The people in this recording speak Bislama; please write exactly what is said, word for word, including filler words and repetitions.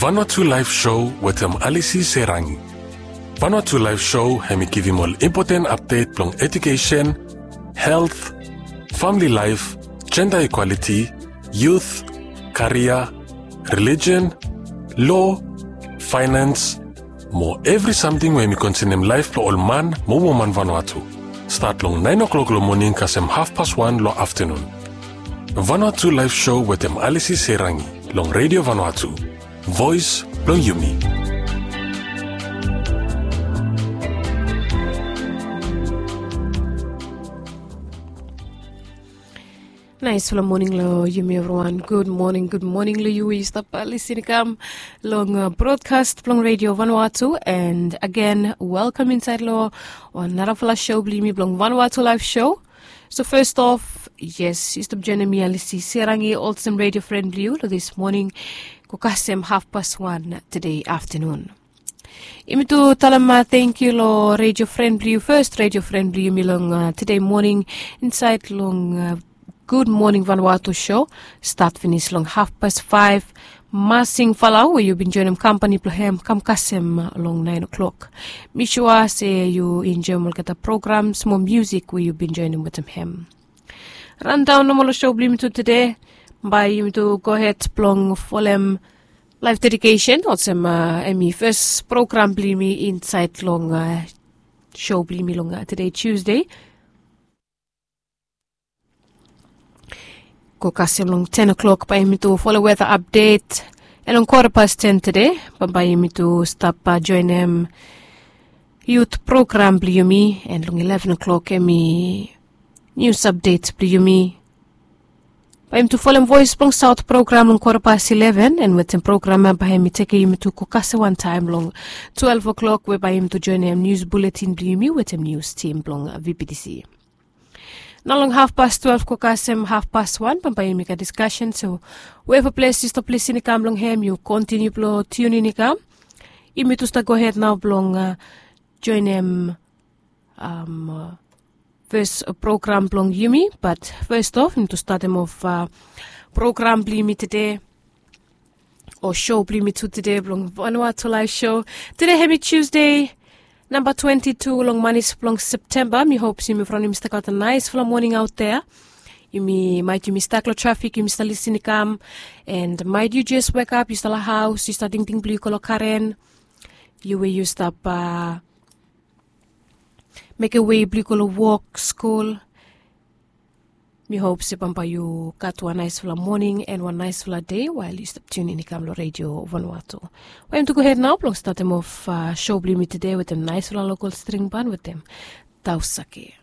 Vanuatu Live Show wetem Alisi Serangi. Vanuatu Live Show hem i givim ol impoten apdet blong ejukesen, helt, famili laef, jenda ikwaliti, yut, karia, relijen, lo, faenans, mo evri samting we hem i konsenem laef blong ol man mo woman Vanuatu. Stat long naen o'klok long moning kasem hafpas wan long aftanun. Vanuatu Live Show wetem Alisi Serangi long Redio Vanuatu, voes blong yumi. Naesfala moning long yumi evriwan. Gud moning, gud moning long yu we yu stap lisin i kam long brodkas blong Redio Vanuatu. And agen, welkam insaed long wan narafala show blong yumi blong Vanuatu Live Show. So fes of, yes, yu stap joenem mi Alisi Serangi olsem redio fren blong yu long dis moning go kasem hafpas wan tede aftanun. Yumi tu talem tangkiu long redio fren blong yu, fes redio fren blong yumi long tede moning insaed long Gud Moning Vanuatu show. Stat finis long hafpas faef. Masing Falau we yu bin joenem kampani blong hem kam kasem long naen o'klok. Mi sua se yu enjoem olgeta programs mo miusik we yu bin joenem wetem hem. Randaon nomo long show blong yumi tu tede, bae yumi tu gohed blong folem laef dedikesen olsem hem i fes program blong yumi insaed long show blong yumi long tede Tusde. Go kasem long ten o'klok bae yumi tu folem weta apdet. And long kwata pas ten tede bambae yumi tu stap joenem yut program blong yumi. And long ileven o'klok hem i nius apdet blong yumi. Bae yumi tu folem Voes blong Saot program long kwata pas ileven, and wetem program ya bae yumi tekem yumi tu go kasem wantaem long twelve o'klok we bae yumi tu joenem nius buletin blong yumi wetem nius tim blong VBTC. Nao long hafpas twelve go kasem hafpas wan bambae yumi gat diskasen. So weva ples yu stap lisin i kam long hem, yu kontiniu blong tiunin i kam. Yumi tu stap gohed nao blong joenem fes program blong yumi. Bat fes of, yumi tu statem of program blong yumi tede, o show blong yumi tu tede blong Vanuatu Live Show. Tede hem i Tusde, namba twenti tu long manis blong Septemba. Mi hop se yumi evriwan yumi stap gat wan naesfala moning aot dea. Yumi, maet yumi stak long trafik, yumi stap lisin i kam. And maet yu jes wekap, yu stap long haos, yu stap tingting blong yu go long karen. Yu we yu stap mekem wei blong yu go long wok, skul. Mi hop se bambae yu gat wan naesfala moning and wan naesfala dei wael yu stap tiunin i kam long Redio Vanuatu. Bae yumi tu gohed nao blong statem of show blong yumi tede wetem naesfala lokol string ban wetem Tausake.